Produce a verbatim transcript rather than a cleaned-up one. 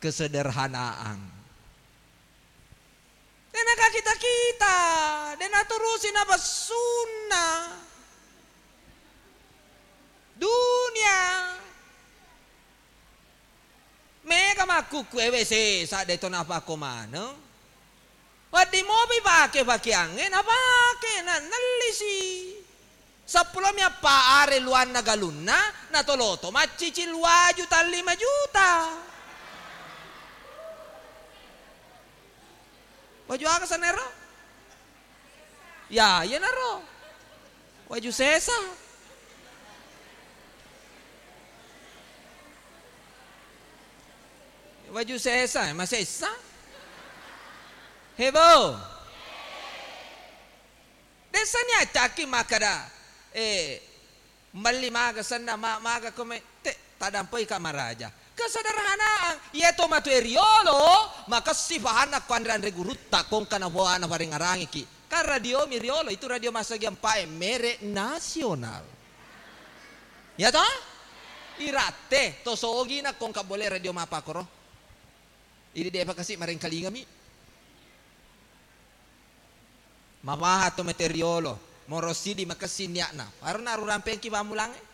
Kesederhanaan. De' nakakita-kita, de' naturusi napessunna. Dunia. Mega makkukku ewe sesa de' to napakko maneng. Wedding mopi pake pakeangnge, napake, na-, nellisi. Seppulo mi appa are luanna galunna, natoloto maccicil waju tallima juta. Waju aga sanero? Ya, iyanaro. Waju sesa. Waju sesa, masessa. Hebo. Dessani accaki makkada, eh, melli maga senna, ma-, maga kome, te, tadampoi ka maraja. Kesederhanaan, iya to matu e riolo, makessi fahanna ko anre-anre gurutta, kongka na boana parengarangiki. Kan radio mi riolo, itu radio massagi empat e, merek nasional. Ya toh? Iratte, to sogi na kongka bole radio mapakoro. Idi depa kasi marengkalingami. Mawaha to mate riolo, moro sidi makessing nia'na. Aro naru rampengki pammulangnge.